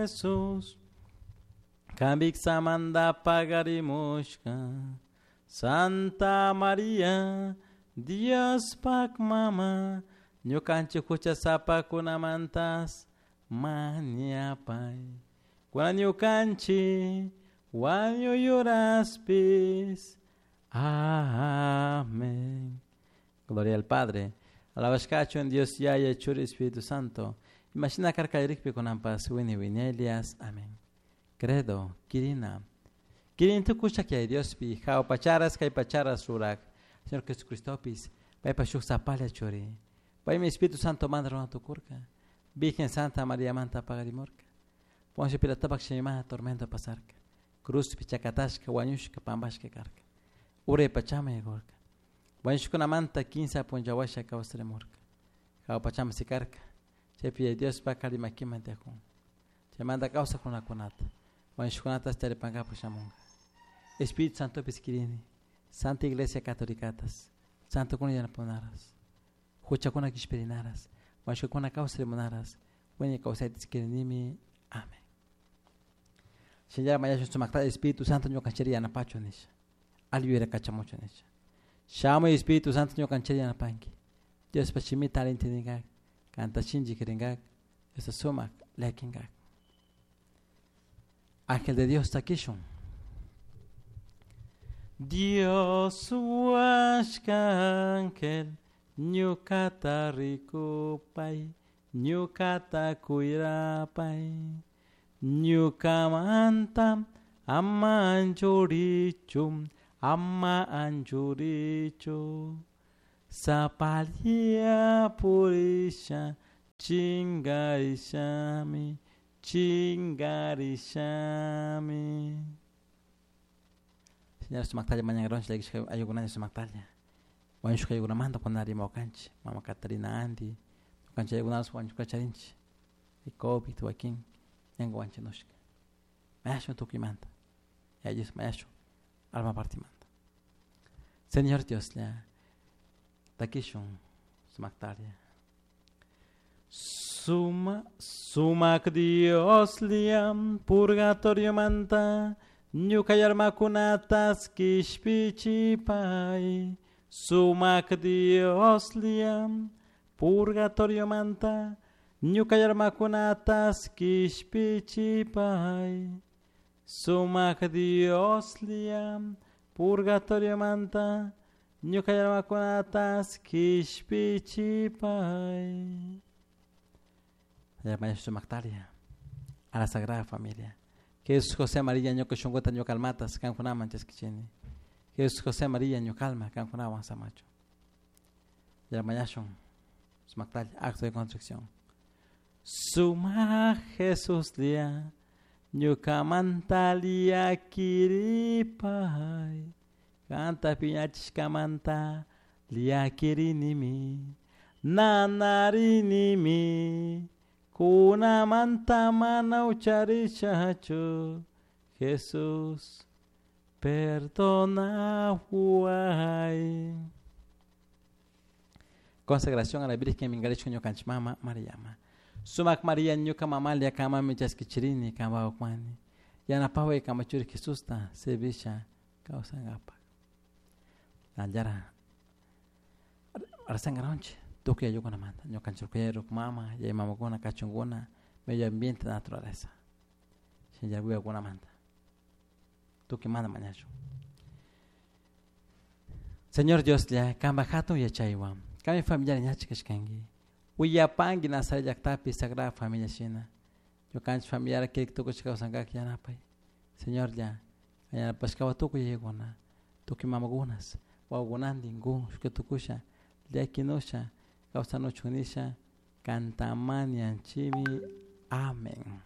Jesús. Kambiksamanta pagarimushka Santa Maria Diospak mama ñukanchik huchasapakunamantas mañapay. Kunan ñukanchik wañuyuraspis. Amén. Gloria al Padre. Alabashkachun Dios Yaya Churi Espíritu Santo. Imashina karka kunanpas wini winelias. Amén. Credo, Kirina. Kirin tukusha que Diospi, jao pacharas kay pacharas surak. Señor Jesucristopis, paypa shuk sapalla churi. Paymi Espíritu Santo manda runa tukurka. Virgen Santa María manta pagarimurka. Poncio Pilatopak shimimana tormento pasarka. Cruzpi chakatashka wañushka pampashka karka. Uray pachama yaykurka. Wañushkunamanta kinsa punllawasha kawsarimurka. Jawa pachama sikarka. Chaypi Diospa alli makiman tiyakun. Chaymanta kawsaq runakunata. Wañushkunata charipankapak shamunka. Espíritu Santopis kirini. Santa Iglesia Católicatas. Santokuna yanapunaras. Huchakuna kishpirinaras. Wañushkakuna kawsarimunaras. Wiñay kawsaytas kirinimi. Amén. Shinallara mañashun sumakta Espíritu Santo ñukanchiri yanapachu nisha. Alli yuyayta kachamuchu nisha. Shamuy Espíritu Santo ñukanchiri yanapanki. Diospa shimita alli entendingak. Kanta shinchi kiringak. Diosta sumak llakinkak. Ángel de Dios takishun. Dios huashka ángel ñukata rikupay, ñukata cuirapay, ñukamanta ama anchurichu, ama anchurichu, sapalla purisha, chingarishami, chingarishami. Señor sumaktalla mañankaronchik llakishka ayukunalla sumaktalla. Wañushka ayukunamanta kuna rimawakanchik mama Catarina Andy, ñukanchik ayukunatas wañushka charinchik. Y COVID wakin ñanka wanchinushka. Mañashun tukuymanta. Yaya mañashun alma partimanta. Señor Dioslla, takishun sumaktalla. Suma, sumak Dioslla, purgatoriomanta, ñuka almakunatas kishpichipay. Sumak Dioslla, purgatoriomanta, ñuka almakunatas kishpichipay. Sumak Dioslla, purgatoriomanta, ñuka almakunatas kishpichipay. Sumaktaria a la Sagrada Familia. Jesús José María ñuka shunkuta ñuka almatas kankunaman chaskichini. Jesús José María ñuka alma kankunawan samachu. Yarmañashun sumaktaria acto de contrición. Suma Jesús lia ñukamanta llakiripay. Kanta piñachishkamanta llakirinimi. Nanarinimi. Kunamanta mana ucharishachu. Jesús, perdonaway. Consagración a la Virgen Mingarishka ñukanchik mama Mariama. Sumak María ñuka mamalia kamami chaskichirini kamawakmani. Yanapaway kamachuri Jesusta servisha kawsankapak. Nallara arsangaronchi tukuy ayukunamanta ñukanchik rukuyay mama yaya mamakuna kachunkuna medio ambiente naturaleza. Shinallara wiwakunamanta. Tukuymanta mañashun. Señor Dioslla, kanpak hatun yachaywan, kanmi familiar ñachik kashkanki. Willapanki Nazaret llaktapi Sagrada Familia shina. Ñukanchik familiar kirik tukushka kawsankak yanapay. Señorlla, yanapashkawa tukuy yayakuna, tukuy mamakunas, wawakunantin kun shuka tukusha, llakinusha, kawsanuchun nisha, kantamanianchimi. Amén.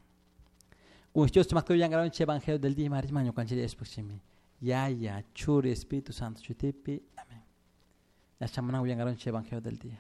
Kun Dios sumakta willankaronchik Evangelio del día marisma ñukanchik yachashpakchimi. Yaya, Churi, Espíritu Santo, shutipi. Amén. Yachamana willankaronchik Evangelio del día.